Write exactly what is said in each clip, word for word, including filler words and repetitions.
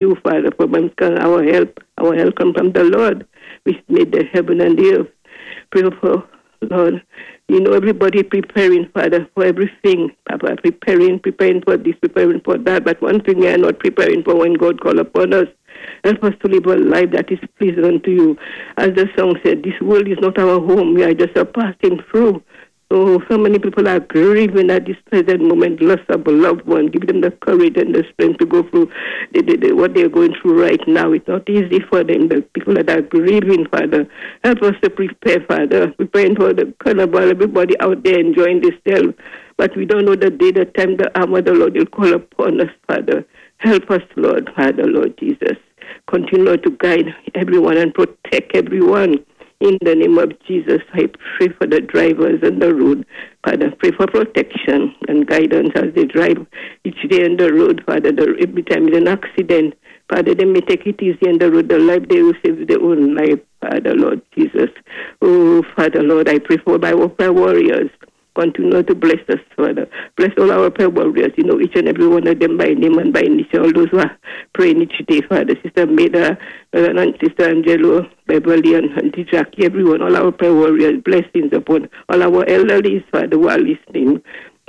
You, Father, for our help. Our help comes from the Lord, which made the heaven and the earth. Pray for, Lord, you know, everybody preparing, Father, for everything. Papa, preparing, preparing for this, preparing for that. But one thing we are not preparing for when God call upon us. Help us to live a life that is pleasing unto you. As the song said, this world is not our home. We are just a passing through. Oh, so many people are grieving at this present moment, loss of a loved one. Give them the courage and the strength to go through the, the, the, what they're going through right now. It's not easy for them, the people that are grieving, Father. Help us to prepare, Father, preparing for the carnival, everybody out there enjoying themselves. But we don't know the day, the time, the hour the Lord will call upon us, Father. Help us, Lord, Father, Lord Jesus. Continue to guide everyone and protect everyone. In the name of Jesus, I pray for the drivers on the road. Father, pray for protection and guidance as they drive each day on the road. Father, the, every time there's an accident, Father, they may take it easy on the road. The life they will save their own life, Father, Lord Jesus. Oh, Father, Lord, I pray for my prayer warriors. Continue to bless us, Father. Bless all our prayer warriors, you know, each and every one of them by name and by initial, all those who are praying each day, Father. Sister Maida, and Sister Angelo, Beverly, and Auntie Jackie, everyone, all our prayer warriors, blessings upon all our elderly, Father, who are listening.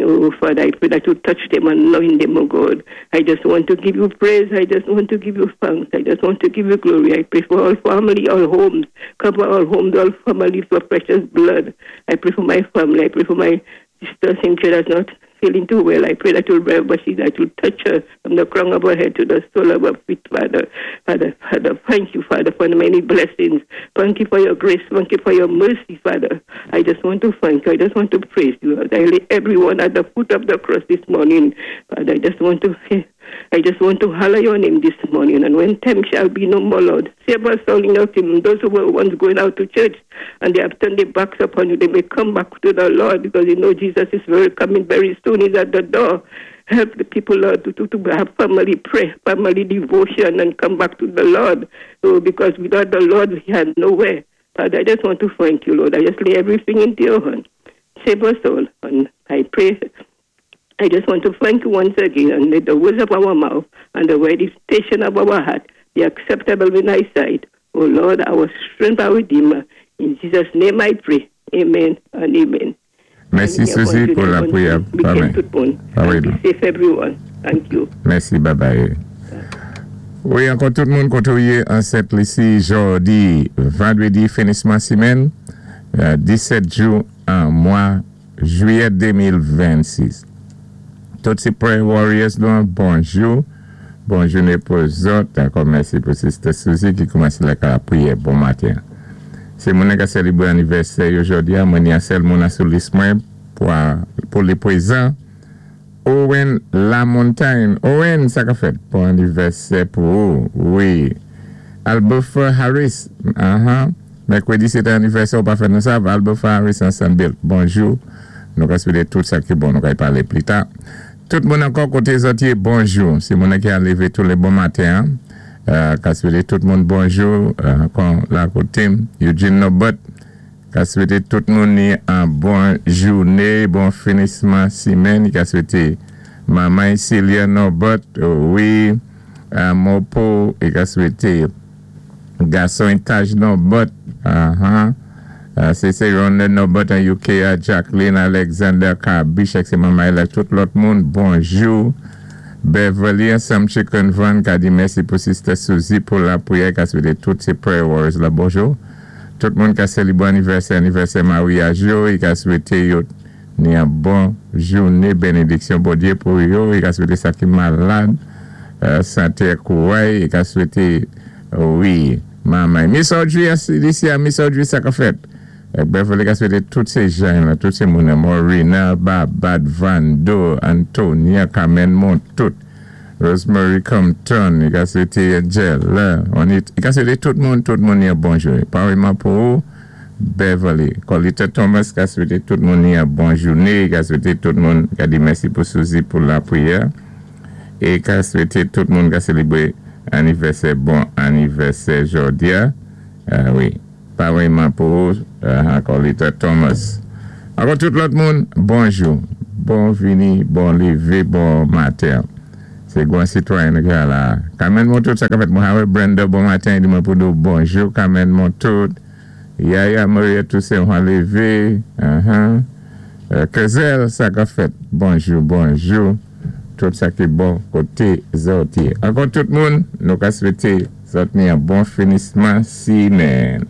Oh, Father, I pray that you touch them and anoint them, oh God. I just want to give you praise. I just want to give you thanks. I just want to give you glory. I pray for all family, all homes. Cover all homes, all families for precious blood. I pray for my family. I pray for my sister Cynthia that's not feeling too well. I pray that you'll mercy, that you'll touch her from the crown of her head to the sole of her feet, Father. Father, Father, thank you, Father, for the many blessings. Thank you for your grace. Thank you for your mercy, Father. I just want to thank you. I just want to praise you. I lay everyone at the foot of the cross this morning. Father, I just want to I just want to holler your name this morning. And when time shall be no more, Lord, save us all in your kingdom. Those who were once going out to church and they have turned their backs upon you, they may come back to the Lord because you know Jesus is very coming very soon. He's at the door. Help the people, Lord, to, to, to have family prayer, family devotion, and come back to the Lord. So, because without the Lord, we have nowhere. Father, I just want to thank you, Lord. I just lay everything into your hand. Save us all. And I pray I just want to thank you once again and let the words of our mouth and the meditation of our heart be acceptable in thy sight. O Lord, our strength, our Redeemer. In Jesus' name I pray. Amen and amen. Mèsi, Suzy, pou lapriyè. Amen. Be safe, everyone. Thank you. Mèsi, bye bye. Wi, ankò tout moun koté ou yé an Sent Lisi jòdi, vandwédi, finisman simenn, disèt jou an mwa jwiyè de mil vennsis. Tout sé prayer warriors nou, bonjou. Bon jouné pou zòt. Ankò mèsi pou Sister Suzy ki koumansé la priyè bon maten. Sé moun ki sélébré anivèsè jòdi a, mwen ni an sèl moun sou lis mwen pou pou le pwézan. Owen Lamontagne. Owen, sa ka fèt bon anivèsè pou ou. Wi. Albert Harris. Uh-huh. Mèkwédi sé anivèsè ou pa fè nou sa. Albert Harris an Saint-Bill. Bonjou. Nou ka swété tout sa ki bon, nou ka y palé pli ta. Tout moun ankò koté zòt yé, bonjou. Sé moun ki a lévé tou lé bon maten. Euh, ka swété tout moun bonjou. Euh, kon la koté Eugene Nobot. Ka swété tout moun ni an bon jouné, bon finisman simenn. Ka swété manman Celia Nobot, wi, euh, Mopo, é ka swété gason Taj Nobot, uh-huh. Uh, sé sé Ronald Nobot an U K, Jacqueline Alexander Kabich, sé manman la, tout lòt moun, bonjou. Beverly Sam Chicken Van, ka di mèsi pou Sister Suzy pou lapriyè, ka swété tout sé prayer warriors la bonjou. Tout moun ka sélébré anivèsè, anivèsè maryaj yo, i ka swété yo ni an bon jouné, bénédiksyon Bondyé pou yo, i ka swété sa ki malad, euh, santé kouray, i ka swété, wi, manman. Miss Audrey, isi, Miss Audrey, sa ka fèt. Beverly ka swété tout sé jan la, tout sé moun, Morina, Babad, Vando, Antonia, Carmen Montout, Rosemary Compton, i ka swété Angel, i ka swété tout moun, tout moun ni bonjou. Pareillement pou Beverly. Colita Thomas ka swété tout moun ni bon jouné, ka swété tout moun, ka di mèsi pou Suzy pou lapriyè, é ka swété tout moun ka sélébré anivèsè, bon anivèsè jòdi a. Uh, wi. Pareillement pou uh, Colita Thomas. Ankò tout lòt moun, bonjou. Bon vini, bon lévé, bon maten. Sé gwan sitwayen ki la. Carmen Montout, sa ka fèt. Mwen Brenda, bon maten, di mwen pou nou bonjou. Carmen Montout. Yaya Maria Toussaint, mwen lévé. Uh-huh. Euh, Kezel, sa ka fèt. Bonjou, bonjou. Tout sa ki bon koté zòt. Ankò tout moun, nou ka swété zòt ni yon bon finisman simèn.